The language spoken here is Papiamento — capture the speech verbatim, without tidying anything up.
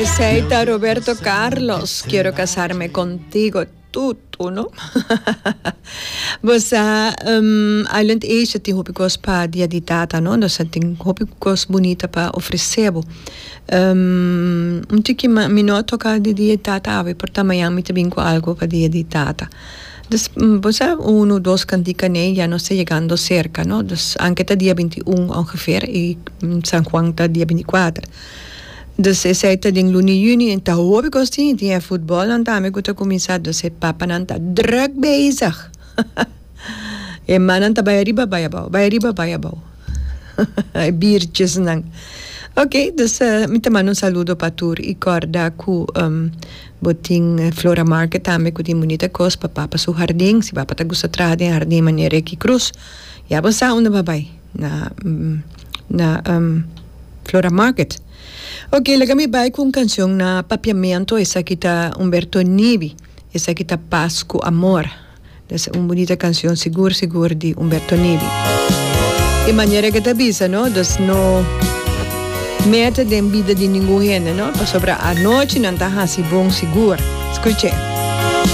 Esey ta Roberto Carlos, "Quiero casarme contigo". Tutu, no? Bo sa, um, Island Asia tin hopi cos pa Dia di Tata, no? Dus tin hopi cos bunita pa ofrece bo. Um, un tiki mi no toca di Dia di Tata awe, por ta mañan mi ta bin cu algo pa Dia di Tata. Dus, bo sa, uno, dos cantica ne, ya nos ta yegando cerca, no? Dus, aunke ta dia binti un ongeveer, y San Juan ta dia binti cuater. Dus esey ta den luna di juni, y ta hopi cos tin, tin e futbol nan tambe cu ta cuminsa, dus e papanan ta druk bezig. E manan ta bay ariba, bay abou, bay ariba, bay abou. E biertjes nan. Ok, dus uh, mi ta manda un saludo pa tur y corda cu um, bo tin Flora Market tambe cu tin bunita cos pa papa su hardin, si papa ta gusta traha den hardin manera Ricky Cruz. Ya bo sa unda bay na na um, Flora Market. Ok, laga mi bay cu un cancion na papiamento, esaki ta Humberto Nibi, esaki ta "Pas cu Amor". Esta un bunita cancion, sigur, sigur di Humberto Nibi. E manera cu ta bisa, no? Dus no mete den bida di ningun hende, no? Pasobra anochi nan ta hasi bon sigur. Scucha.